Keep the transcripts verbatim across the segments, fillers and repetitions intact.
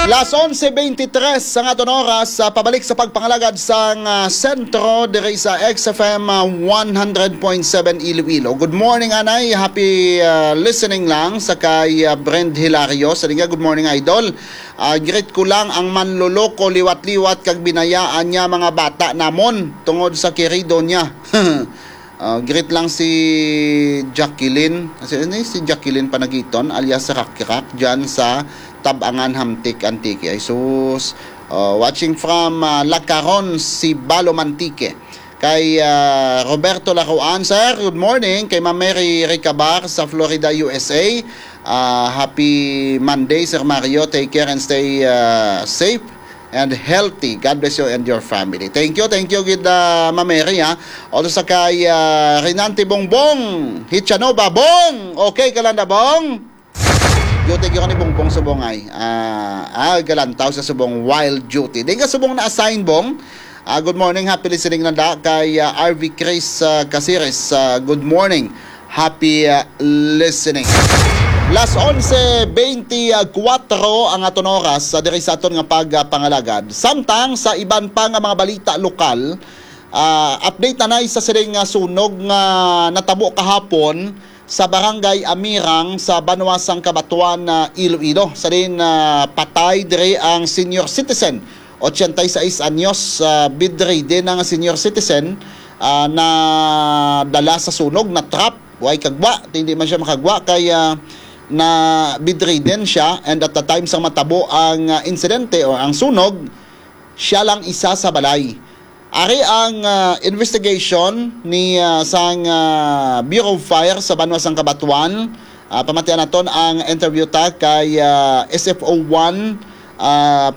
Las onse veintitrés ang aton oras, ah, pabalik sa pagpangalagad sang, ah, sentro diri sa X F M, ah, one hundred point seven Iloilo. Good morning, anay. Happy, ah, listening lang sa kay, ah, Brand Hilario. Sa nga, good morning, idol. Ah, greet ko lang ang manloloko, liwat-liwat, kag binayaan niya mga bata namon tungod sa kirido niya. Ah, greet lang si Jacqueline. Kasi ano, si Jacqueline Panagiton alias Rakrak dyan sa Tabangan, Hamtic, Antique. Ay sus. Ah, watching from, ah, Lacaron, Sibalo, Antique. Kay, ah, Roberto Laruan, sir, good morning. Kay Ma'am Mary Ricabar sa Florida, U S A. Ah, happy Monday, Sir Mario. Take care and stay, ah, safe and healthy. God bless you and your family. Thank you, thank you gid, ah, Ma'am Mary, ha. Also sa kay, ah, Renante Bongbong Hichanova. Bong! Okay ka lang na, Bong? Duty gyud ni Bongbong subong ay. Ah, ah, galantaw sa subong while duty. Di ka subong na-assign, Bong? Ah, good morning, happy listening na da kay, ah, R V Chris, ah, Caceres. Ah, good morning. Happy, ah, listening. Las onse veinticuatro ang aton oras, ah, diri sa aton nga pagpangalagad. Samtang sa iban pa nga mga balita lokal, ah, update na nay sa siling nga sunog nga natabo kahapon sa Barangay Amirang sa banwa sang Cabatuan, ah, Iloilo. Sa din, ah, patay diri ang senior citizen, ochenta y seis anyos, ah, bedridden na nga senior citizen, ah, na dala sa sunog, na trap, way kagwa, hindi man siya makagwa kay, ah, na bedridden siya, and at the time sang matabo ang, ah, insidente o ang sunog, siya lang isa sa balay. Ari ang, ah, investigation ni, ah, sang, ah, Bureau of Fire sa banwa sang Cabatuan. Ah, pamatian naton ang interview ta kay, ah, S F O one, ah,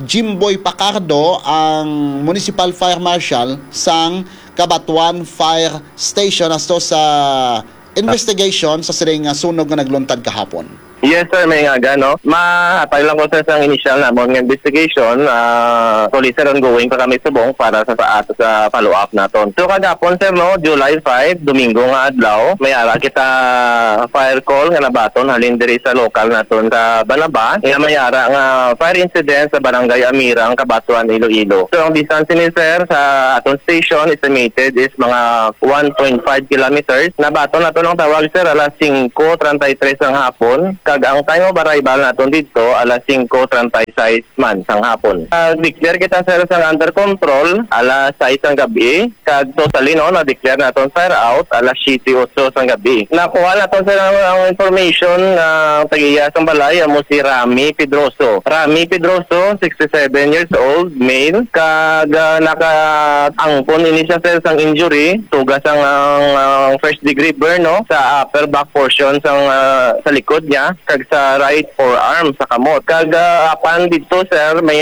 Jimboy Pacardo, ang Municipal Fire Marshal sang Cabatuan Fire Station, asto sa investigation sa siring nga sunog nga nagluntad kahapon. Yes, sir, may ngaga, no? Mahatag lang ko, sir, sang initial namon nga investigation. Ah, actually, sir, ongoing pa kami subong para sa, sa, sa follow-up naton. So, kagapon, sir, no, July five, Domingo nga adlaw, may ara kita fire call nga nabaton halin diri sa lokal naton sa Banaba, nga may ara nga fire incident sa Barangay Amirang, Cabatuan, Iloilo. So, ang distance ni, sir, sa aton station estimated is mga one point five kilometers. Nabaton naton ang tawag, sir, alas singko treinta y tres sang hapon, kag ang time of arrival naton didto alas singko treinta y seis man sang hapon. Ah, declare kita, sir, sang under control alas sais sang gabi, kag totally, no, na-declare naton fire out alas siyete otso sang gabi. Nakuha naton, sir, ang, ang information nga ang tag-iya sang balay amo si Rami Pedroso. Rami Pedroso, sixty-seven years old, male, kag, ah, nakaangkon ini siya, sir, sang injury, tugas ang, ang, ang first degree burn, no, sa upper back portion sang, ah, sa likod niya, kag sa right forearm sa kamot. Kag, ah, apan didto, sir, may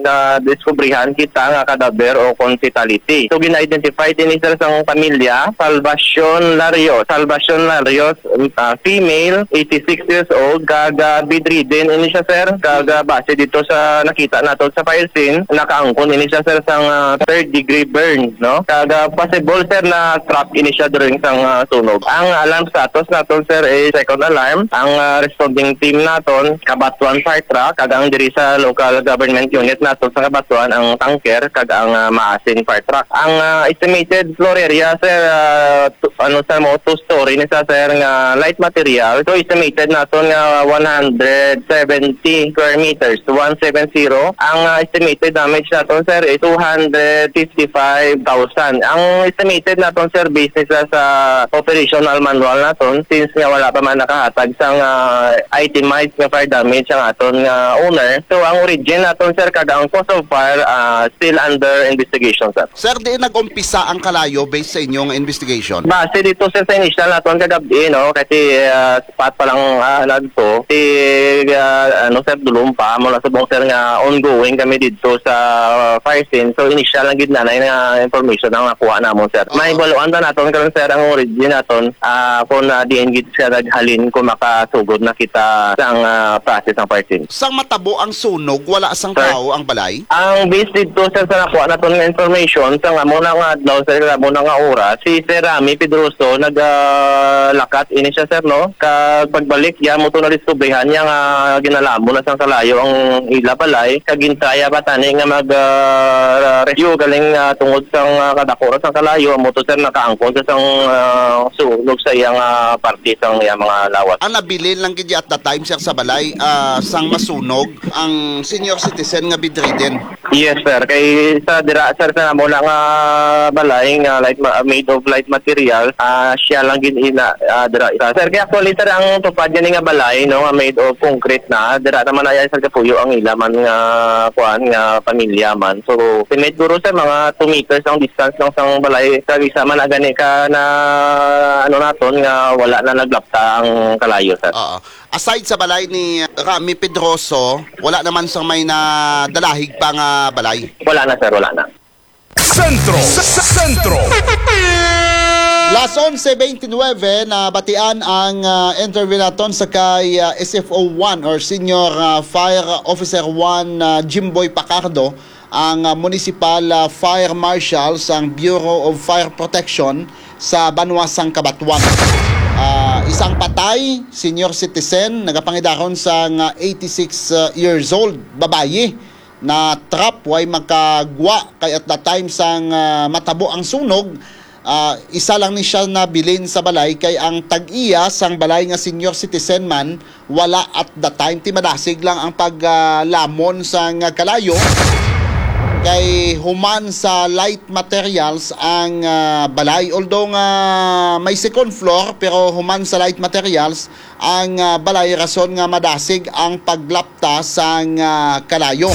nadiskubrihan kita nga kadaver o kon fatality. So, gin-identify ini, sir, sang pamilya, Salvacion Larios. Salvacion Larios, ah, female, eighty-six years old, kag, ah, bedridden ini siya, sir. Kag, ah, base dito sa nakita nato sa fire scene, nakaangkon ini siya, sir, sang, ah, third degree burn, no? Kag, ah, possible, sir, na trap ini siya during sang, ah, sunog. Ang alarm status naton, sir, is second alarm. Ang, ah, responding team naton, Cabatuan Fire Truck, kag ang diri sa local government unit naton sa Cabatuan, ang tanker, kag ang, ah, Maasin Fire Truck. Ang, ah, estimated floor area, sir, ah, tu-, ano sa mo, two-story ni sa, sir, nga light material. So, estimated naton nga one hundred seventy square meters, one seven zero. Ang, ah, estimated damage naton, sir, is two hundred fifty-five thousand. Ang estimated naton, sir, based ni sa, sa operational manual naton, since nga wala pa man nakahatag sang, ah, itemized nga fire damage ang aton nga owner. So, ang origin naton, sir, kag ang cause of fire, ah, still under investigation, sir. Sir, diin nag-umpisa ang kalayo based sa inyong investigation? Base dito, sir, sa initial naton kagabi, no, kasi, ah, spot pa lang, ah, nagto. Si, ah, ano, sir, dulom pa, mula subong, sir, nga ongoing kami dito sa fire scene. So, initial lang gid nanay nga information ang nakuha namon, sir. Oo. Mahibaluan ta naton karon, sir, ang origin naton, ah, kung, ah, diin gid siya naghalin, kung maka ah, sugod na kita sang, ah, process sang fire team. Sang matabo ang sunog, wala sang Sir? Tawo ang balay? Ang base dito, sir, sa nakuha naton nga information, sa nga muna nga adlaw, sir, sa muna nga oras, si Sir Rami Pedroso nag, ah, lakat ini siya, sir, no? Kag pagbalik niya, mo to nadiskubrihan niya nga ginalamo na sang kalayo ang ila balay, kag gintraya pa tani nga mag, ah, rescue galing, ah, tungod sang, ah, kadako ra sang kalayo, mo to, sir, nakaangkon sa sang, ah, sunog sa iyang, ah, parte sang iyang mga lawas. Ang nabilin lang gid at the time, sir, sa balay, ah, sang masunog ang senior citizen nga bedridden. Yes, sir. Kay sa dira, sir, sa muna nga balay nga light ma-, made of light material, ah, siya lang gid ina, ah, dira. Sir, kay actually, sir, ang tupad gani nga balay, no, nga made of concrete na, dira naman ay, sir, kapuyo ang ila man nga kuan, nga pamilya man. So, estimate guro, sir, mga two meters ang distance lang sang balay. Kag isa man na gani ka na, ano naton, nga wala na naglapta ang kalayo, sir. Oo. Aside sa balay ni Rami Pedroso, wala naman sang may nadalahig pa nga balay. Wala na, sir. Wala na. Sentro. Sentro. Las onse veintinuebe, nabatian ang, ah, interview naton sa kay, ah, S F O one or Senior, ah, Fire Officer one, ah, Jimboy Pacardo, ang, ah, Municipal, ah, Fire Marshal sang Bureau of Fire Protection sa banwa sang Cabatuan. Ah, isang patay, senior citizen, nagapangidaron sang, ah, eighty-six, ah, years old, babayi, na trap, way makagwa, kay at the time sang, ah, matabo ang sunog, ah, isa lang ni siya nabilin sa balay, kay ang tag-iya sang balay nga senior citizen man, wala at the time. Ti madasig lang ang paglamon sang kalayo, kay human sa light materials ang, ah, balay. Although nga may second floor, pero human sa light materials ang, ah, balay, rason nga madasig ang paglapta sang, ah, kalayo.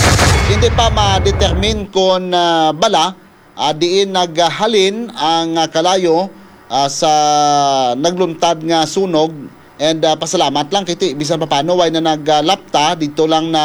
Hindi pa ma-determine kon, ah, bala, ah, diin naghalin ang, ah, kalayo, ah, sa nagluntad nga sunog. And, ah, pasalamat lang kiti bisan pa paano way na naglapta dito lang na,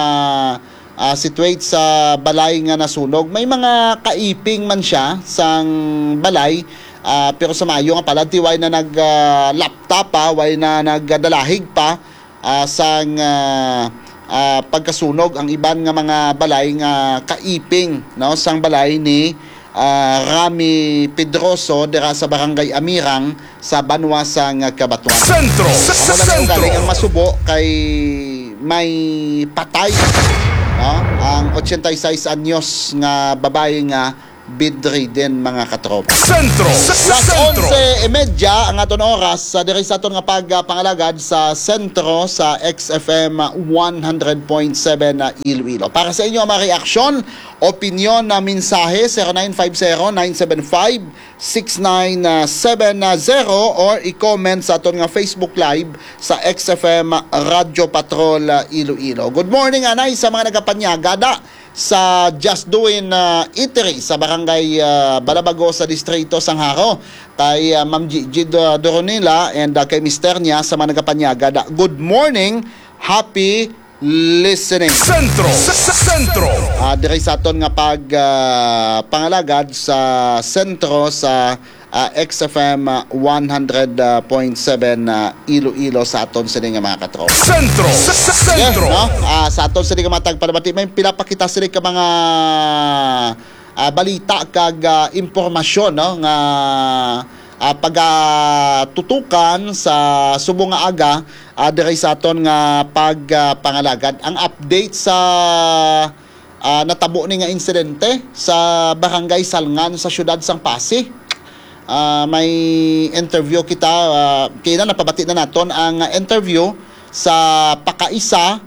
ah, situate sa balay nga nasunog. May mga kaiping man siya sang balay, ah, pero sa maayo nga palad ti way na nag, ah, lapta pa, way na nagdalahig pa, ah, sang, ah, ah, pagkasunog ang iban nga mga balay nga kaiping, no, sang balay ni, ah, Rami Pedroso dira sa Barangay Amirang sa banwa sang Cabatuan. Sentro. Amo lang ang galing ang masubo kay may patay, no? Ang ochenta y seis anyos nga babayi nga bedridden, mga katropa. Sentro. Las onse y media ang aton oras sa diri sa aton nga pagpangalagad sa sentro sa X F M one hundred point seven na Iloilo. Para sa inyo ang mga reaksyon, opinyon na mensahe, zero nine five zero, nine seven five, six nine seven zero or i-comment sa aton nga Facebook Live sa X F M Radyo Patrol, ah, Iloilo. Good morning, anay, sa mga nagapanyagada sa Just Doing, ah, Eatery sa Barangay, ah, Balabago sa Distrito sang Jaro. Kay, ah, Ma'am Gigi Do-, Doronila and, ah, kay mister niya sa mga nagapanyagada. Good morning, happy listening. Sentro. Sentro. Ah, diri sa aton nga pag, ah, pangalagad sa sentro sa, ah, X F M, ah, one hundred point seven, ah, Iloilo sa aton sini nga mga katropa. Sentro. Sentro. Yeah, no? Ah, sa aton sini nga mga tagpalamati, may pila pa kita sini ka mga, ah, balita kag, ah, impormasyon, no, nga, ah, pagatutukan sa subong nga aga, ah, diri sa aton nga pag, ah, pangalagad. Ang update sa, ah, natabo ni nga insidente sa Barangay Salngan sa siyudad sang Passi. Ah, may interview kita, ah, kina napabati na naton ang interview sa pakaisa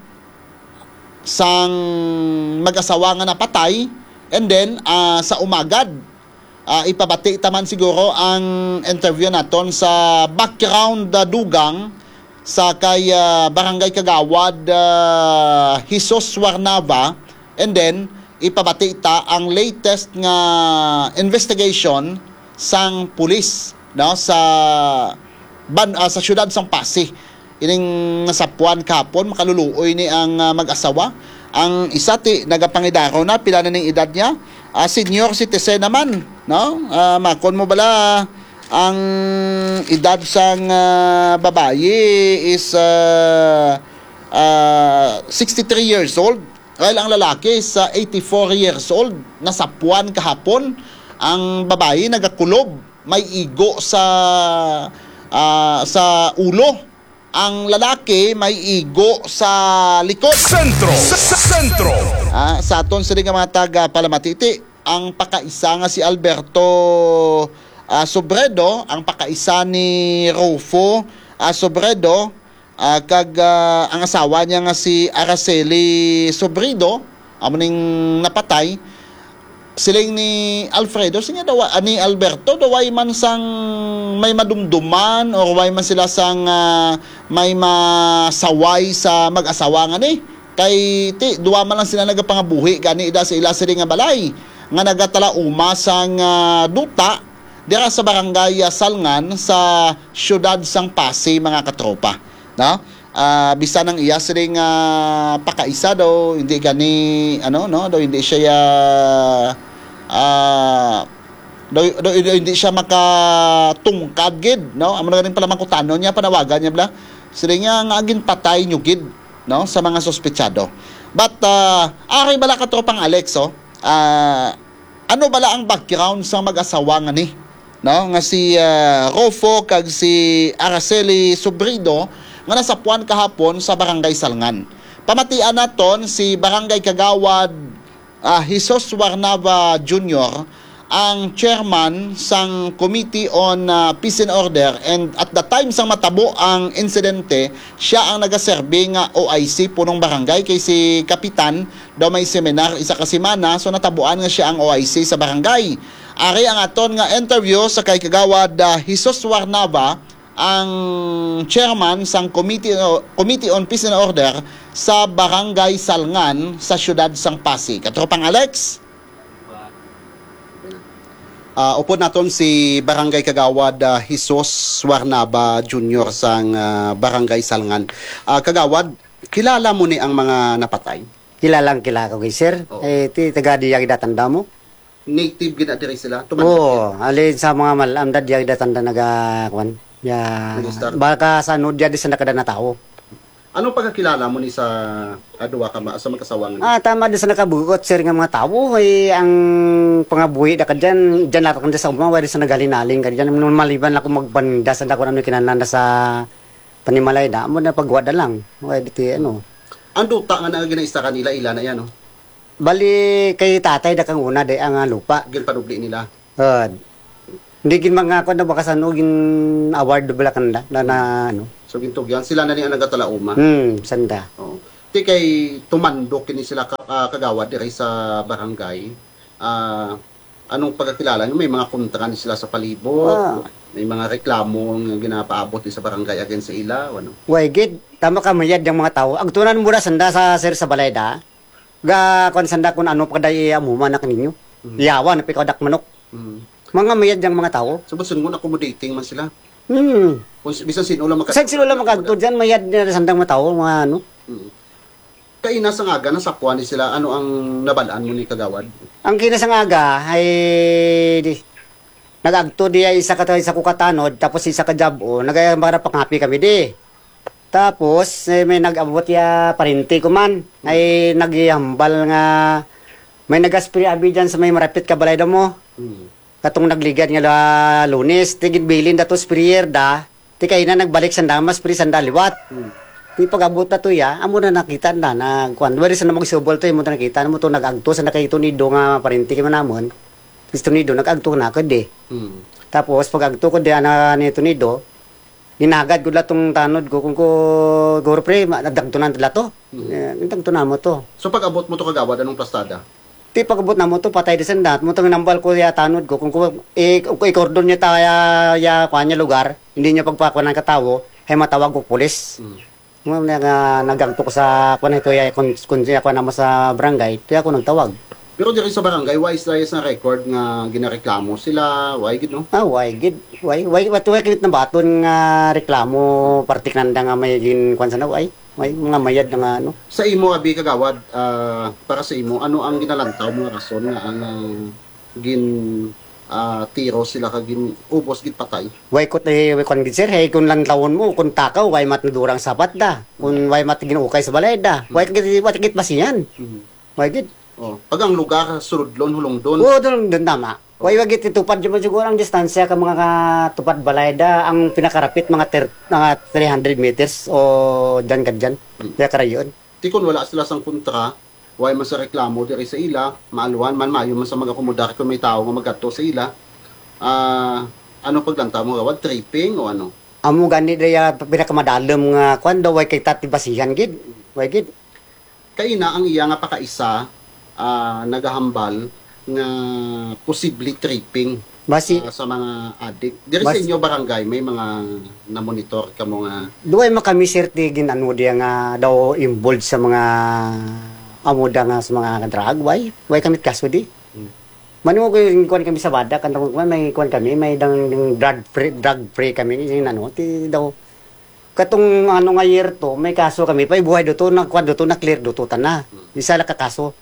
sang mag-asawa nga napatay, and then, ah, sa umagad, ah, ipabati ta man siguro ang interview naton sa background, ah, dugang sa kay, ah, Barangay Kagawad, ah, Jesus Warnava, and then ipabati ta ang latest nga investigation sang pulis, no, sa ban-, ah, sa siyudad sang Passi. Ining nasapuan kahapon, makaluluoy ni ang, ah, mag-asawa. Ang isa ti nagapangidaro na, pila na ning edad niya? Ah, senior citizen naman, no? Ah, makon mo bala, Ang edad sang, ah, babayi is, ah, ah, sixty-three years old, while ang lalaki is, ah, eighty-four years old. Nasapuan kahapon ang babayi, nagakulob, may igo sa, ah, sa ulo. Ang lalaki may igo sa likod. Sentro! Sa, sa sentro! Ah, sa aton sini nga mga taga Palamatiti, ang pakaisa nga si Alberto, ah, Sobredo, ang pakaisa ni Rufo, ah, Sobredo, ah, kag, ah, ang asawa niya nga si Araceli Sobrido, amo ning napatay. Siling ni Alfredo, siya daw, ah, ni Alberto, daw way man sang may madumduman or way man sila sang, ah, may masaway sa mag-asawa nga ni. Kay ti, duwa man lang sila nagapangabuhi gani ida sa ila sini nga balay nga nagatalauma sang, ah, duta dira sa barangay, ah, Salngan sa siyudad sang Passi, mga katropa, no? Ah, bisan ang iya siring, ah, pakaisa daw, hindi gani, ano, no, daw hindi siya, ah, ah, daw, daw, daw hindi siya makatungkad gid, no? Amo na ganing pala mangkutanon niya, panawagan niya bala. Siring niya nga ginpatay niyo gid, no, sa mga suspetsado. But, ah, ari bala ka tropang Alex, oh, ah, ano bala ang background sang mag-asawa nga ni, no, nga si, ah, Rofo kag si Araceli Sobrido nga nasapuan kahapon sa Barangay Salngan? Pamatian naton si Barangay Kagawad, ah, Jesus Warnava Junior, ang chairman sang Committee on, ah, Peace and Order, and at the time sang matabo ang insidente, siya ang nagaserbi nga O I C punong barangay, kay si Kapitan daw may seminar isa ka semana, so natabuan nga siya ang O I C sa barangay. Ari ang aton nga interview sa kay Kagawad, ah, Jesus Warnava, ang chairman sang Committee, Committee on Peace and Order sa Barangay Salngan sa siyudad sang Passi. Katropang Alex? Ah, upod naton si Barangay Kagawad, ah, Jesus Warnaba Junior sang, ah, Barangay Salngan. Ah, Kagawad, kilala mo ni ang mga napatay? Kilalang kilala ko, sir. Oo. Eh, ti, taga diya kita tanda mo? Native gid na diri sila? Tumanda Oo, gid? Alin sa mga mal-, amda diya kita tanda naga, kwan, ya, Minister? Baka sa ano, diya di sa nakada na tao. Anong pagkakilala mo ni sa, ah, duwa ka ma-, sa magkasawa nga ni? Ah, tama di sa nakabugot, sir, nga mga tao, eh, ang pangabuhi da ka dyan, dyan lang ka sa uma, wala sa nagalinaling ka dyan. Maliban lang kung magpandas, ang dako na ano kinananda sa panimalay na, amo na pagwada lang. Wala di ti, ano. Ang duta nga na ginaista kanila, ila na yan, no? Bali, kay tatay da kang una, day, ang, ah, lupa. Ginpanubli nila? Ah, hindi gid mga kuwan na baka sa ano, gin-award bala kanda, na, na, ano. So, gintugyan. Sila na ni ang nagatalauma? Hmm, sanda. Oo. Ti kay tumandok kini sila ka, ah, kagawad diri sa barangay. Ah, anong pagkakilala nyo? May mga kontra ni sila sa palibot? Ah. May mga reklamo nga ginapaabot ni sa barangay against sa ila, o ano? Way gid, tama ka, mayad ang mga tao. Agtunan mo na sanda sa, sir, sa balay da. Ga, kwan sanda kung ano pa day amuman na kaninyo. Mm. Yawa na pikadak manok. Mm. Mga mayad yang mga tao. So, basin mo accommodating man sila. Hmm. Kung si-, bisan sino lang maka- Bisan sino lang makagto dyan, mayad na sandang mga tao, mga ano. Mm. Kaina sa ngaga, nasapuan ni sila, ano ang nabalaan mo ni Kagawad? Ang kina sa ngaga, ay, di, nag-agto di ay isa ka, isa ko katanod, tapos isa ka jab-o, nagaya para pangapi kami di. Tapos, eh, may nag-abot ya parente ko man. Ay naghambal nga may nag-aspiri abi dyan sa may marapit ka balay daw mo. Mm. Katong nagligad nga la-, Lunes, tigid bilin dato sprayer da. Ti kay na nagbalik sanda, mas pri sanda liwat. Mm. Ti pag-abot na to ya, amo na nakita na, na, kuwan, wala sa na magsubol to, imo na nakita mo to, nag-agto sa na kay Tunido nga parente kay manamon. Si Tunido, nag-agto na ko di. Mm. Tapos, pag-agto ko di, ana ni Tunido, ginagad ko la tong tanod ko, kung ko, guro pre, ma-, nagdagtunan tala to. Mm. Eh, nagdagtunan mo to. So, pag-abot mo to kagawad, anong pastada? Ti pag-abot na mo to, patay di sanda. Mo tong nambal ko ya tanod ko, kung ko, i-, kung ko i-cordon niya ta, ya, ya, kuan niya lugar, hindi niya pagpakuanan ka tawo, ay matawag ko pulis. Mm. Mo na nga nagagto ko sa, kuan ito, ya, kun, kun siya, kuan naman sa barangay, kaya ako nagtawag. Pero diri sa barangay, why is there sa record nga ginareklamo sila? Why gid, no? Ah, why gid? Why, why, what, why kinit na baton nga reklamo, parte kananda nga may gin, kuan sa na, why? Why, mga mayad na nga, ano? Sa imo, abi kagawad, ah, para sa imo, ano ang ginalantaw mo nga rason nga ang, ah, gin, ah, tiro sila kag gin-, ubos gid patay. Way ko ti-, way kwan gid, sir, hay kun lang tawon mo, kun takaw, way mat nadurang sapat da. Kun way mat ginukay sa balay da. Way ka gid, way ka gid basihan. Mhm. Way gid. Oh, pag ang lugar, suludlon, hulungdon. Oo, doon, doon tama. Way, way gid tupad, di man siguro ang distansya ka mga ka-, tupad balay da, ang pinakarapit mga ter-, mga three hundred meters o dyan ka dyan. Hmm. Kaya karayon. Ti kun wala sila sang kontra, way man sa reklamo diri sa ila, maalwan man, maayo man sa mag-akomodar kung may tawo nga magadto sa ila. Ah, ano paglantaw mo, gawad? Tripping o ano? Amo gani daya pinakamadalom nga kwan daw, way kay tati basihan gid. Way gid. Kaina ang iya nga pakaisa, ah, nagahambal nga posible tripping, Basi ah, sa mga adik. Diri sa bas- inyo barangay, may mga namonitor kamo nga Duway man kami, sir, ti gin-ano diya nga daw involved sa mga amo da nga sa mga drug, way? Way kami kaso di. Hmm. Mano ko yung kuwan kami sa Badak, ang tawag ko, may kuwan kami, may dang, dang drug free, drug free kami, yung ano, ti daw, katong ano nga year to, may kaso kami, pa buhay do to, na kuwan do to, na clear do to, tana. Hmm. Isa lang ka kaso.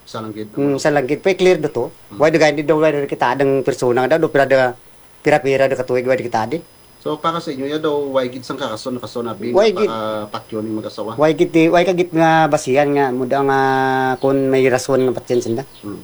Isa lang gid. Hmm, isa lang gid, pa clear do to. Hmm. Why do gani do, why do kita adang persona nga daw, do pira da, pira-pira da katuig, why do kita di? So, para sa inyo, ya daw, way gid sang karason, kason abi Way nga gid. Para patyon ning mag-asawa? Way gid, ti-, way ka gid nga basihan nga, muda nga, kung may rason nga patyon sila. Hmm.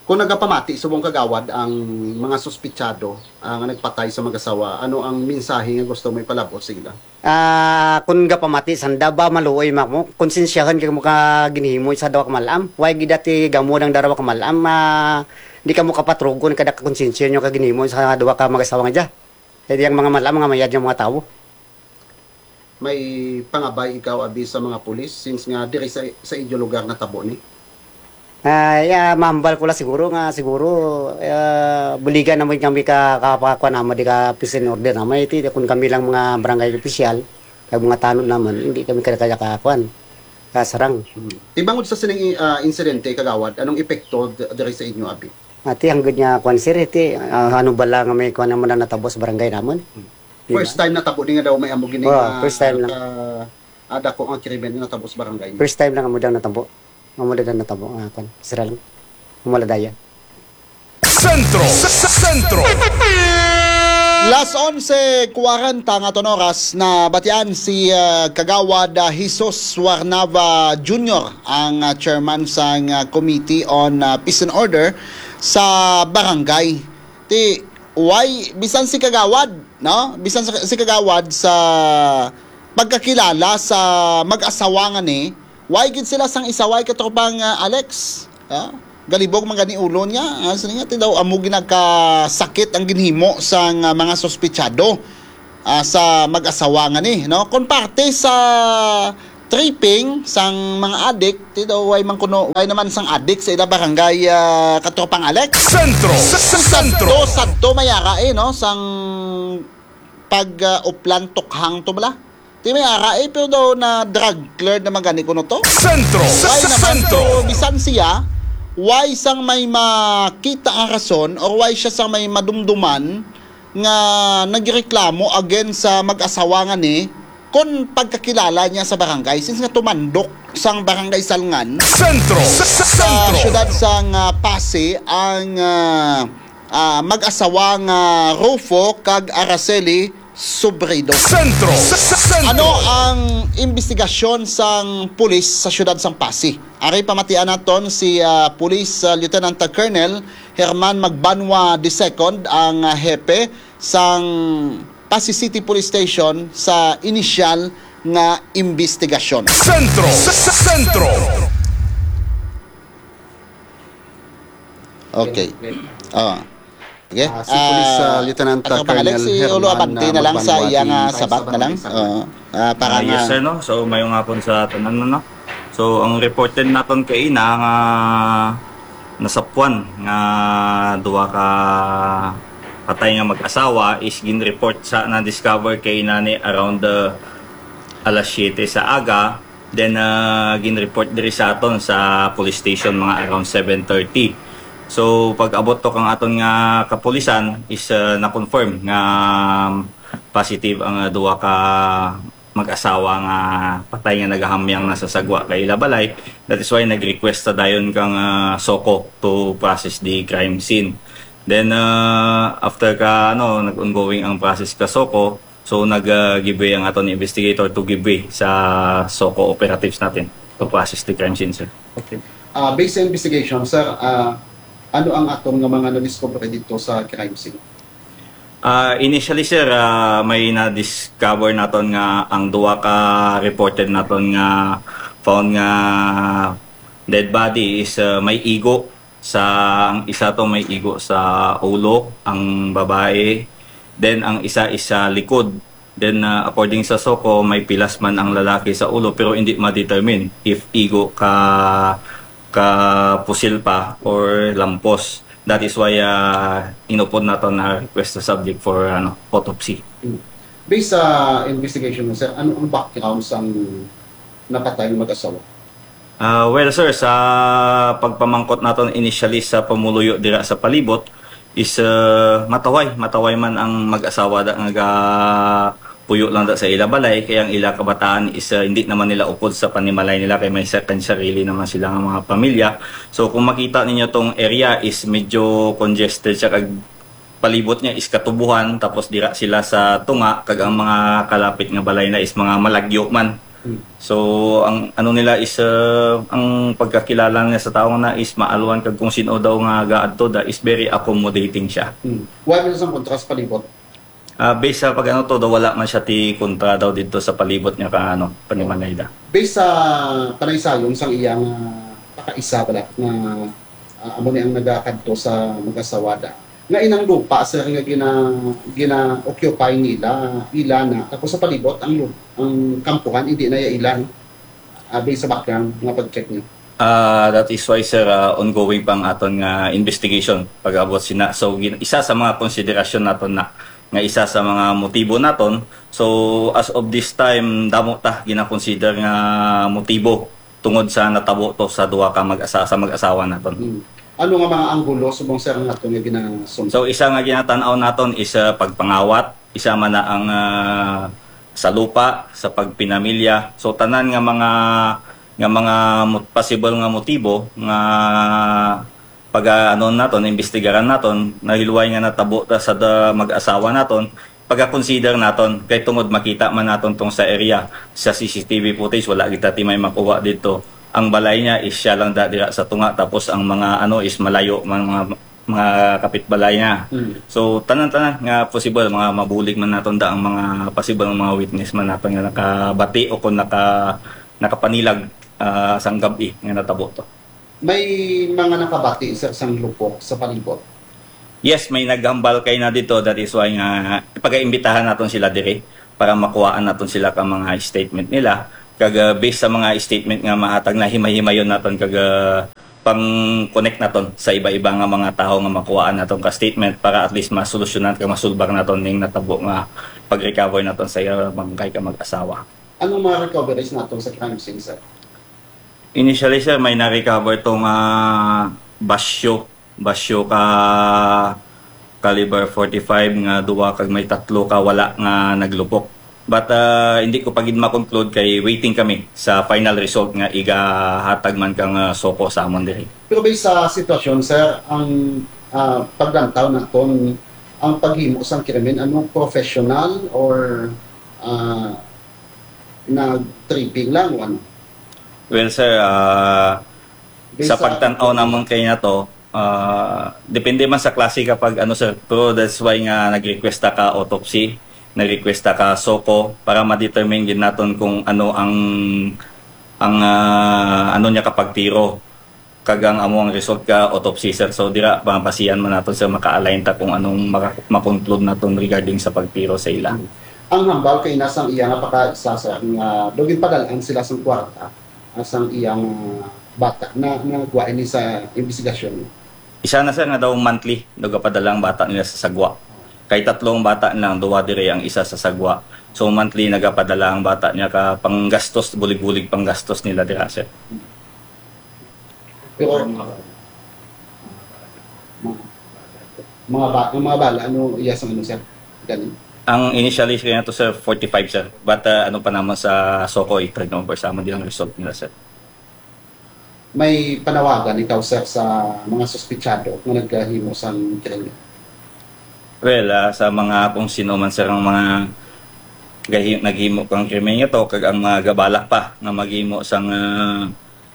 Kung nagapamati subong kagawad ang mga suspitsado, ah, nga nagpatay sa mag-asawa, ano ang mensahe nga gusto mo ipalabot sa ila? Ah, kung gapamati sanda ba, maluoy man mo, konsensyahan kay mo ka ginhimo sa duha ka malam. Way gid dati gamo nang darawa ka malam, ah, di ka mo kapatrugon kada ka konsensya nyo ka ginhimo sa duha ka mag-asawa nga dya. Kay di ang mga malam, mga mayad nga mga tawo. May pangabay ikaw, abi, sa mga pulis, since nga diri sa, sa inyo lugar natabo ni? Ah, ya, mahambal ko la siguro nga, siguro, ah, buligan naman kami ka, ka, ka, kuwan naman, di ka peace and order naman. Iti, kung kami lang mga barangay official, kag mga tanod naman, hindi kami kaya, kaya ka, kuwan, kasarang. Hmm. Tibangod sa sining, ah, insidente, kagawad, anong epekto d-, diri sa inyo, abi? Ati, ang gud nga, kuwan, sir, iti, ah, ano bala nga may, kuwan naman na natabo sa barangay naman? Hmm. Di ba? First time natabo ni nga daw may amo gini Oh, nga first time lang. ka-, ah, dako nga krimen nga natabo sa barangay niyo? First time lang amo daw natabo. Amo daw natabo, ah, kwan, sira lang. Amo la daya. Sentro, Sentro. Las onse kwarenta nga aton oras, nabatian si, ah, Kagawad, ah, Jesus Warnava Junior, ang, ah, chairman sang, ah, Committee on, ah, Peace and Order sa barangay. Ti, why, bisan si Kagawad, no? Bisan sa, si Kagawad sa pagkakilala sa mag-asawa nga ni, why gid sila sang isaway, katropang, ah, Alex? Ah, galibog man gani ulo niya. Ah, sa niya, ti daw amo ginagkasakit ang ginhimo sang, ah, mga suspitsado, ah, sa mag-asawa nga ni, no? Kon parte sa tripping sang mga adik, ti daw way man kuno, way naman sang adik sa ila barangay, ah, katropang Alex. Sentro, Sentro. Sadto, sadto may ara, eh, no? Sang pag, ah, uplan tukhang to bala. Ti may ara, eh, pero daw na drug cleared naman gani kuno to. Sentro, Way naman, Sentro. Pero bisan siya, way sang may makita nga rason or way siya sang may madumduman nga nagreklamo against sa mag-asawa nga ni kon pagkakilala niya sa barangay, since nga tumandok sang barangay Salngan Sentro, sa Sentro. Siyudad sang, ah, Passi ang, ah, ah, mag-asawa nga Rufo kag Araceli Sobredo. Sentro, Sentro. Ano ang imbestigasyon sang pulis sa siyudad sang Passi? Ari pamatian naton si, ah, Police, ah, Lieutenant Colonel Herman Magbanwa the second, ang, ah, hepe sang Passi City Police Station sa inisyal nga imbestigasyon. Sentro, Sentro. Okay. Ah, si Police, ah, Lieutenant Colonel Herman, ah, Magbanwa, ah, sabat na lang. Ah, para nga, yes, sir, no? So, mayong hapon sa tanan, no? So, ang reported naton kaina nga nasapwan nga duha ka patay nga mag-asawa is gin-report sa, na-discover kaina ni around the alas siyete sa aga. Then, ah, gin-report diri sa aton sa police station mga around seven thirty. So, pag-abot to kang aton nga kapulisan is, ah, na-confirm nga positive ang, ah, duha ka mag-asawa nga patay nga nagahamyang na sa sagwa kay ila balay. That is why nag-request sa dayon kang, ah, SOCO to process the crime scene. Then, uh, after ka, ano, nag-ongoing ang process ka SOCO, so nag-, uh, give way ang aton investigator to give way sa SOCO operatives natin to process the crime scene, sir. Okay. Uh, based sa investigation, sir, uh, ano ang aton nga mga nadiscover dito sa crime scene? Uh, initially, sir, uh, may na-discover naton nga ang duha ka reported naton nga found nga dead body is, uh, may igo sa, ang isa to may igo sa ulo ang babae, then ang isa is sa likod. Then, uh, according sa SOCO, may pilas man ang lalaki sa ulo, pero hindi ma-determine if igo ka, ka pusil pa or lampos. That is why, uh, inupod nato na request sa subject for, ano, autopsy. Mm. Based sa investigation mo, sir, ano ang background sang napatay nga mag-asawa? Ah, well, sir, sa pagpamangkot naton initially sa pumuluyo dira sa palibot is, uh, mataway, mataway man ang mag-asawa da nga puyo lang da sa ila balay, kay ang ila kabataan is, uh, hindi naman nila upod sa panimalay nila, kay may sa-, sarili naman sila nga mga pamilya. So kung makita ninyo, tong area is medyo congested siya, kag palibot niya is katubuhan, tapos dira sila sa tunga, kag ang mga kalapit nga balay na is mga malagyo man. Hmm. So ang ano nila is, uh, ang pagkakilala niya sa tawo na is maalwan, kag kung sino daw nga gaadto da is very accommodating siya. Hmm. Wala man sang kontra sa palibot? Ah, based sa pag-ano to, daw wala man siya ti kontra daw dito sa palibot niya ka, ano, panimalay da. Based sa panaysayon sang iya nga pakaisa bala nga, ah, amo ni ang nagakadto sa mag-asawa da, nga inang lupa, sir, nga gina-, gina-occupy nila, ila na. Tapos sa palibot, ang lu-, ang kampuhan, hindi na ya ila, no? Ah, based sa background nga pag-check niyo. Ah, that is why, sir, ah, ongoing pa ang aton nga investigation pag-abot sina. So gin-, isa sa mga konsiderasyon naton na nga isa sa mga motibo naton. So as of this time, damo ta gina-consider nga motibo tungod sa natabo to sa duha ka mag-asa-, sa mag-asawa naton. Hmm. Ano nga mga anggulo subong, sir, nga aton nga ginasunod? So isa nga ginatan-aw naton is, ah, pagpangawat, isa man na ang, ah, sa lupa, sa pagpinamilya. So tanan nga mga, nga mga mo-, possible nga motibo nga pag, ah, ano naton, imbestigaran naton, nahiluway nga natabo ta sa da-, mag-asawa naton, pag-consider naton kay tungod makita man naton tong sa area sa C C T V footage, wala kita ti may makuha dito. Ang balay niya is siya lang da dira sa tunga, tapos ang mga ano is malayo man, mga, mga kapitbalay niya. Mm. So tanan-tanan nga possible, mga mabulig man naton da ang mga possible nga mga witness man naton nga nakabati o kung naka nakapanilag, ah, sang gab-i nga natabo to. May mga nakabati, sir, sang lupok sa palibot? Yes, may naghambal kay na dito. That is why nga pagaimbitahan naton sila diri para makuhaan naton sila ka mga statement nila. Kag, ah, based sa mga statement nga mahatag na, himay-himayon naton kag, ah, pang-connect naton sa iba-iba nga mga tawo nga makuhaan naton ka statement para at least masolusyonan kag masulbang naton ning natabo nga pag-recover naton sa iya bangkay ka mag-asawa. Anong mga recoveries naton sa crime scene, sir? Initially, sir, may na-recover to nga basyo, basyo ka caliber forty-five nga duwa kag may tatlo ka wala nga naglupok. But, ah, hindi ko pa gid ma-conclude kay waiting kami sa final result nga igahatag man kang, ah, SOCO sa amon diri. Pero based sa sitwasyon, sir, ang, ah, paglantaw naton, ang paghimo sang krimen, ano, professional or, ah, nag-tripping lang o ano? Well, sir, ah, sa pagtan-aw namon kay na to, ah, depende man sa klase ka pag ano, sir, pero that's why nga nag-request ta ka autopsy, nag-request ta ka SOCO para ma-determine gid naton kung ano ang, ang, ah, ano niya ka pagtiro. Kag ang amo ang result ka autopsy, sir. So dira mabasihan man naton, sir, maka-align ta kung anong maka-, ma-conclude naton regarding sa pagtiro sa ila. Ang hambal kay nasang iya nga pakaisa, sir, nga daw ginpadal-an sila sang kwarta, ah, sang iya nga bata na nagwa ini sa imbestigasyon. Isa na, sir, nga daw monthly nagapadala ang bata nila sa Sagwa. Kay tatlong bata lang, duha diri, ang isa sa Sagwa. So monthly nagapadala ang bata niya ka panggastos, bulig-bulig panggastos nila dira, sir. Pero mga, mga ba, ang mga bala, ano iya sang ano, sir? Gani? Ang initially kaya to, sir, forty-five, sir. But, uh, ano pa naman sa SOCO, i-turn over sa amon din ang result nila, sir. May panawagan ikaw, sir, sa mga suspitsado nga naghimo sang krimen? Well, ah, sa mga kung sino man, sir, ang mga gahi-, naghimo kang krimen nga to, kag ang mga gabalak pa nga maghimo sang, ah,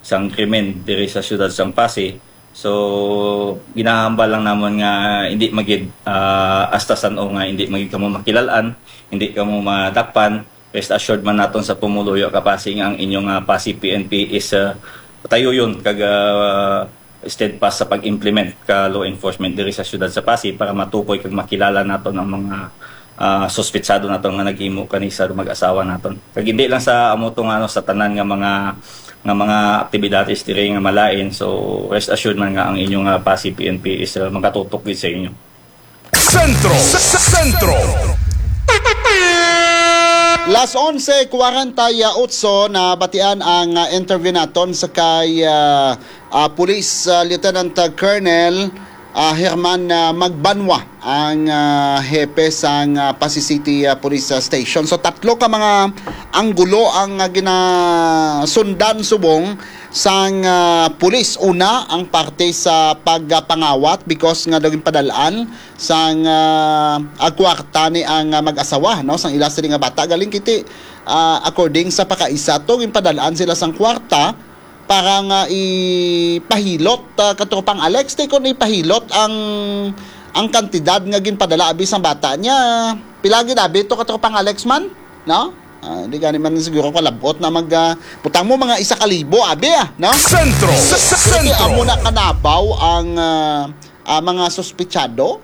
sang krimen diri sa siyudad sang Passi. So, ginahambal lang namon nga hindi magid, ah, hasta san-o nga hindi magid kamo makilalan, hindi kamo madakpan. Rest assured man naton sa pumuluyo ka Passi nga ang inyong, ah, Passi P N P is, ah, patayuyon kag, ah, steadfast sa pag-implement ka law enforcement diri sa siyudad sa Passi para matukoy kag makilala naton ang mga, ah, suspitsado naton nga naghimo kani sa mag-asawa naton. Kag hindi lang sa amo to nga, ano, sa tanan nga mga, nga mga aktibidades diri nga malain. So, rest assured man nga ang inyong, ah, Passi P N P is, ah, magatutok gid sa inyo. Sentro, Sentro. Las onse kwarenta y otso, nabatian ang, ah, interview naton sa kay, ah, ah, Police, ah, Lieutenant, ah, Colonel, ah, Herman, ah, Magbanwa, ang, ah, hepe sang, ah, Passi City, ah, Police, ah, Station. So, tatlo ka mga anggulo ang, ah, ginasundan subong sang, ah, pulis. Una, ang parte sa pagpangawat because nga daw ginpadal-an sang, ah, ah, kwarta ni ang, ah, mag-asawa, no, sang ila sini nga bata. Galing kiti, ah, according sa pakaisa to, ginpadal-an sila sang kwarta para nga ipahilot, ah, Katropang Alex, ti kon ipahilot ang, ang kantidad nga ginpadala abi sang bata niya. Pila gid abi to, Katropang Alex man? No? Ah, di gani man siguro kalabot na mag, ah, butang mo mga isa ka libo abi, ah, no? Sentro, Kay Sentro. amo na kanabaw ang, ah, ah, mga suspitsado,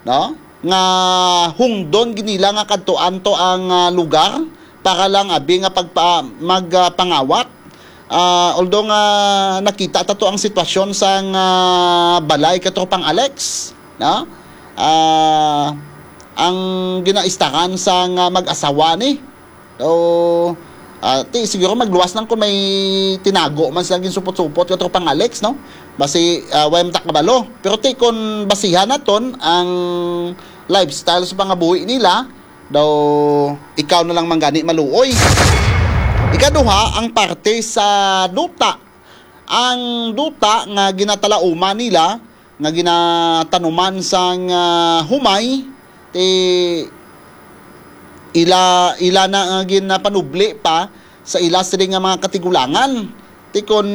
no? Nga hungdon gid nila nga kadtuan to ang, ah, lugar para lang abi nga pagpa-, mag, ah, pangawat. Ah, although nga nakita ta to ang sitwasyon sang, ah, balay, Katropang Alex, no? Ah, ang ginaistaran sang, ah, mag-asawa ni. So, ah, ti, siguro magluwas lang kung may tinago man sila ginsupot-supot, Katropang Alex, no? Basi, ah, way man ta kabalo. Pero ti, kung basihan naton ang lifestyle sa pangabuhi nila, daw ikaw na lang man gani maluoy. Ikaduha, ang parte sa duta. Ang duta nga ginatalauman nila, nga ginatanuman sang, ah, humay, ti ila, ila na nga ginapanubli pa sa ila sini nga mga katigulangan. Ti kon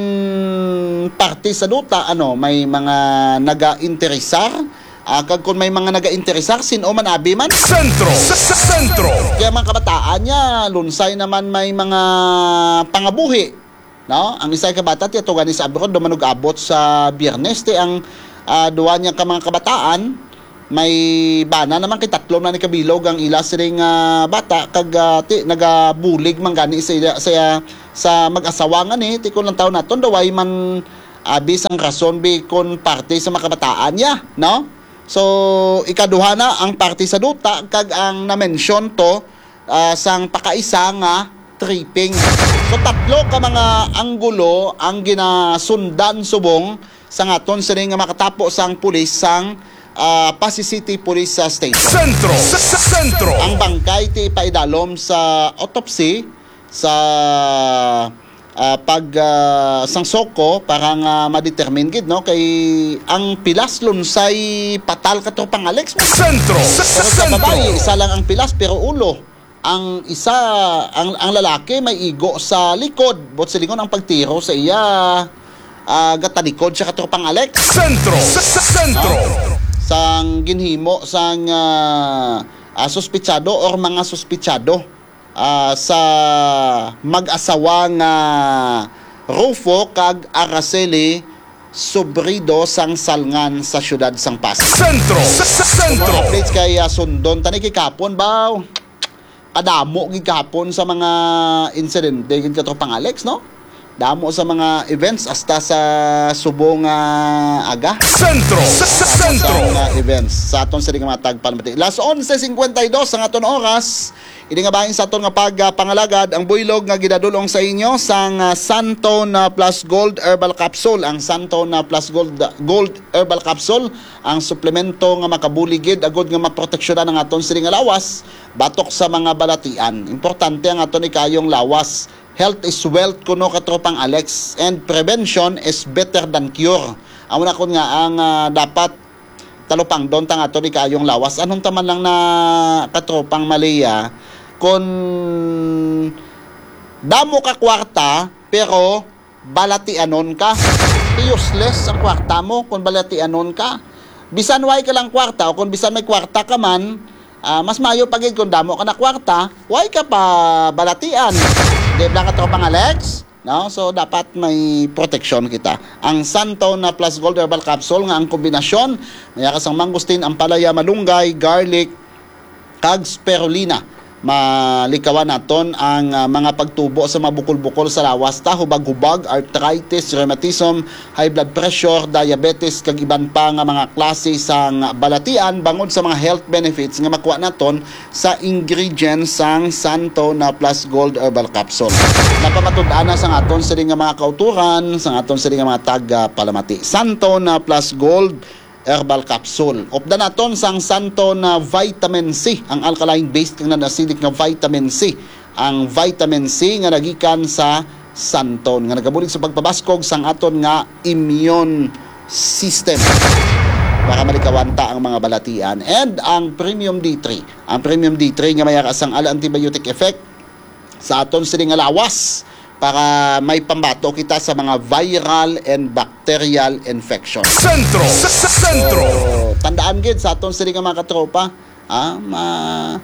parte sa duta, ano, may mga nagainteresar, ah, kag kon may mga nagainteresar, sin-o man abi man. Sentro, Sentro. Kaya mga kabataan niya, lunsay naman may mga pangabuhi, no? Ang isa ka bata, ti atugan ni sa abroad, duman ug abot sa Biyernes, ti ang, ah, duwa niya ka mga kabataan, may bana naman kay tatlo na ni kabilog ang ila sining, ah, bata, kag, ah, ti nagabulig man gani sa, sa, sa mag-asawa nga ni, ti kung lang taon naton, daw ay man abi sang rason bi kon parte sa mga kabataan niya, no? So, ikaduha na ang parte sa duta, kag ang na-mention to, ah, sang pakaisa nga tripping. So, tatlo ka mga anggulo ang ginasundan subong sa ngaton sini nga makatapo sang pulis sang, ah, Passi City Police, ah, Station. Sentro, Sentro. Ang bangkay ti ipaidalom sa autopsy sa, ah, pag, ah, sang SOCO para nga ma-determine gid, no, kay ang pilas lunsay patal, Katropang Alex. Sentro, Pero sa Sentro. babayi, isa lang ang pilas pero ulo. Ang isa, ang, ang lalaki may igo sa likod. Buot silingon ang pagtiro sa iya, ah, gatalikod siya, Katropang Alex. Sentro, Sentro. Sang ginhimo sang, ah, ah, suspitsado or mga suspitsado, ah, sa mag-asawa nga Rufo kag Araceli Sobrido sang Salngan sa siyudad sang Passi. Sentro, Sentro. Updates kay, ah, sundon tani kay kapon ba? Kadamo gid kahapon sa mga insidente gid, Katropang Alex, no? Damo sa mga events hasta sa subong nga aga. Sentro, Sentro. Sa mga events sa aton sini nga mga tagpalamati. Las onse cincuenta y dos ang aton oras. Ini nga bahin sa aton nga pagpangalagad, ang buylog nga gidadul-ong sa inyo sang, ah, Santone, ah, Plus Gold Herbal Capsule. Ang Santone, ah, Plus Gold, Gold Herbal Capsule, ang suplemento nga makabulig gid agod nga maproteksyonan ang aton sini nga lawas batok sa mga balatian. Importante ang aton ikayong lawas Health is wealth kuno, katropang Alex, and prevention is better than cure. Amo na kun nga ang, ah, dapat talupangdon ta nga aton ikaayong lawas. Anong taman lang na, katropang Malia, kun damo ka kwarta pero balatianon ka, useless ang kwarta mo kung balatianon ka. Bisan way ka lang kwarta o kung bisan may kwarta ka man, ah, mas maayo pa gid kung damo ka na kwarta, way ka pa balatian. Di ba, katropang Alex? No? So, dapat may proteksyon kita. Ang Santon na Plus Gold Herbal Capsule nga ang kombinasyon, may akas ang mangustin, ampalaya, malunggay, garlic, kag spirulina. Malikawan naton ang, ah, mga pagtubo sa mga bukol-bukol sa lawas ta, hubag-hubag, arthritis, rheumatism, high blood pressure, diabetes, kag iban pa nga mga klase sang balatian bangod sa mga health benefits nga makuha naton sa ingredients sang Santo na Plus Gold Herbal Capsule. Napamatud-an na sang aton sini nga mga kauturan, sang aton sini nga mga tagapalamati. Santo na Plus Gold Herbal Capsule. Updan naton sang Santo na Vitamin C, ang alkaline-based kag non-acidic nga vitamin C. Ang vitamin C nga nagikan sa santon, nga nagabulig sa pagpabaskog sang aton nga immune system para malikawan ta ang mga balatian. And ang Premium D three, ang Premium D three nga may akas ang ala antibiotic effect sa aton sini nga lawas para may pambato kita sa mga viral and bacterial infection. Sentro! Sa, sa, sentro! So, tandaan gid sa aton sini nga mga katropa, ah, ma-,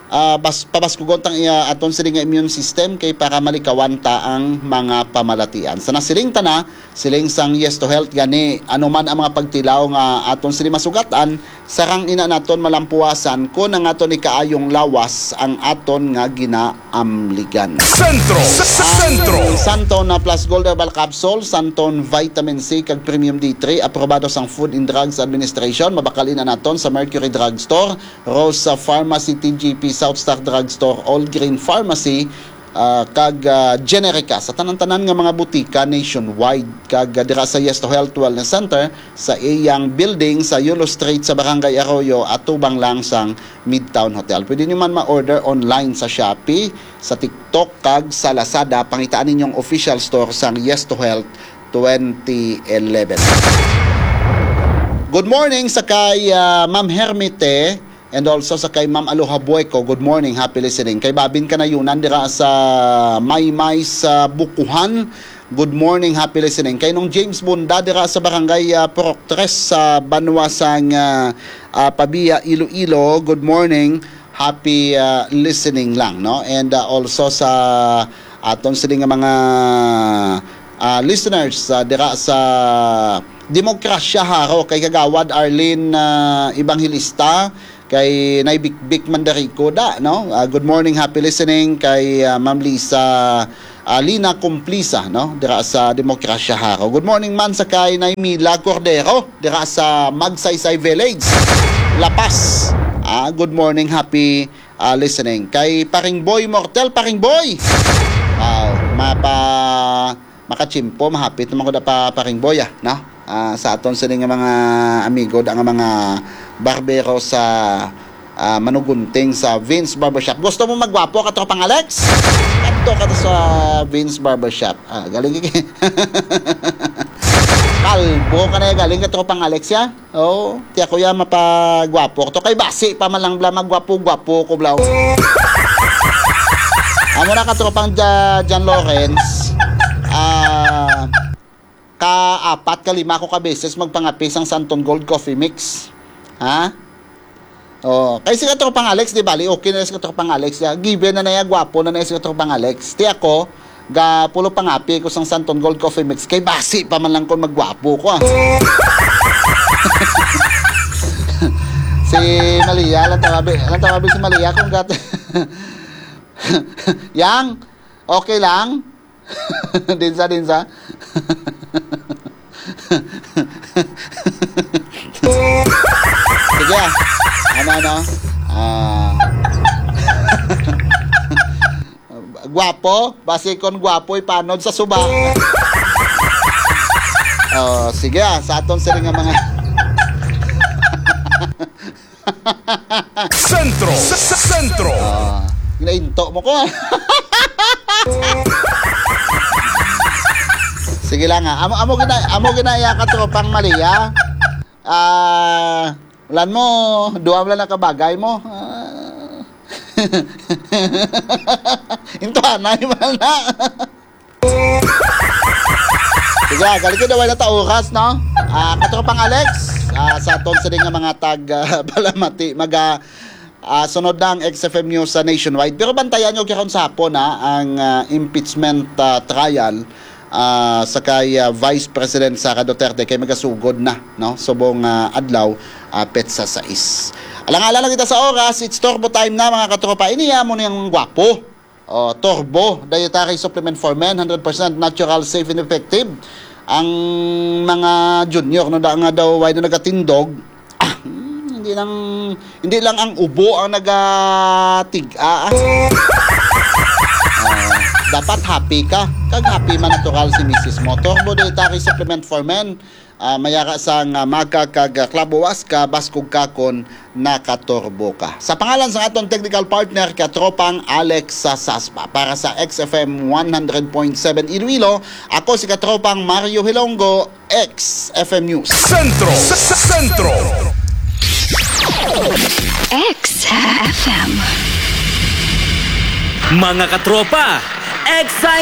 ah, bas-, pabaskugon tang iya aton sini nga immune system kay para malikawan ta ang mga pamalatian. Sa nasiling ta na, siling sang Yes to Health gani, ano man ang mga pagtilaw nga aton sini masugatan, sarang ina naton malampuasan kon ang aton ikaayong lawas ang aton nga ginaamligan. Sentro! Sa, sa, sentro! Ang Santon na Plus Gold Herbal Capsule, Santon Vitamin C, kag Premium D three, aprobado sang Food and Drugs Administration. Mabakal ina naton sa Mercury Drug Store, Rosa Pharmacy, T G P, South Star Drug Store, All Green Pharmacy, ah, kag, ah, Generica sa tanan-tanan nga mga butika nationwide, kag, ah, dira sa Yes to Health Wellness Center sa iyang building sa Yulo Street sa Barangay Arroyo, atubang lang sang Midtown Hotel. Pwede nyo man ma-order online sa Shopee, sa TikTok, kag sa Lazada. Pangitaan ninyong official store sang Yes to Health twenty eleven. Good morning sa kay, ah, Ma'am Hermite. And also sa kay Ma'am Aloha Bueco, good morning, happy listening. Kay Babin Kanayunan dira sa Maymay sa Bukuhan, good morning, happy listening. Kay Nong James Bunda dira sa Barangay, ah, Purok Tres sa banwa sang, ah, ah, Pabia, Iloilo, good morning, happy, ah, listening lang, no? And, ah, also sa aton sini nga mga, ah, listeners, ah, dira sa Demokrasya Jaro, kay Kagawad Arlene, ah, Evangelista, kay Nay Bikbik Mandarico da, no? Ah, good morning, happy listening kay, ah, Ma'am Lisa, ah, Lina Cumplisa, no? Dira sa Demokrasya Jaro. Good morning man sa kay Nay Mila Cordero, dira sa Magsaysay Village, La Paz. Ah, good morning, happy, ah, listening. Kay Paring Boy Mortel, Paring Boy. Wow, mapa makachimpo, mahapit naman ko da pa, Paring Boy, ah, no? Ah, sa aton sini nga mga amigo, da nga mga barbero sa, ah, Manugunting sa Vince Barbershop. Gusto mo magwapo, katropang Alex? Kadto ka sa Vince Barbershop. Ah, galing ka. Kalbo ka na, galing, katropang Alex, ya? Oh, ti ako ya mapagwapo to. Kay basi pa man lang bla, magwapo-gwapo ko bla. Amo na, katropang Ja-, John Lawrence. Ah, ka apat ka lima ko ka beses magpangape sang Santon Gold Coffee Mix. Ha? Oh, kay si katropang Alex, di bali, okay na si katropang Alex. Ya, given na na ya, gwapo na na si katropang Alex. Ti ako, ga pulo pangape ko sang Santon Gold Coffee Mix. Kay basi pa man lang kon magwapo ko, ah. Si Malia, lang tawabi, lang tawabi si Malia kung gat-, Yang, okay lang? Dinsa, dinsa. Sige, ah. Ano, ano? Ah. Gwapo? Basi kon gwapo, ipanod sa suba. Oh, sige, ah. Sa aton sini nga mga Sentro. Sa, sa, sentro. Ah, ginainto mo ko, ah. Sige lang, ha. Amo, amo gina-, amo ginaya ka, tropang Malia. Ah, ulan mo, duwa mo lang nakabagay mo. Ah. Intuanay man na. Sige, galing ko na wala ta oras, no? Ah, katropang Alex, ah, sa aton sini nga mga tag, ah, palamati, maga, ah, sunod na ang X F M News sa nationwide. Pero bantayan nyo karon sa hapon, ha, ang, ah, impeachment, ah, trial, ah, sa kay, ah, Vice President Sara Duterte kay magasugod na, no? Subong, ah, adlaw, ah, petsa sais. Alang-alang lang kita sa oras, it's Turbo Time na, mga katropa. Ini, ah, mo niyang gwapo. Oh, Turbo, dietary supplement for men, hundred percent natural, safe, and effective. Ang mga junior, no, da nga daw, why na nagatindog? Ah, hmm, hindi lang, hindi lang ang ubo ang nagatig-, ah, ah. Ah, dapat happy ka. Kag happy man natural si misis mo. Turbo dietary supplement for men. Ah, mayara sang, ah, maga kag, ah, klabuwas ka, baskog ka kon nakaturbo ka. Sa pangalan sang aton technical partner, katropang Alex sa Sasba, para sa X F M one hundred point seven Iloilo, ako si katropang Mario Hilonggo, X F M News. Sentro. Sentro. X F M. Mga katropa, X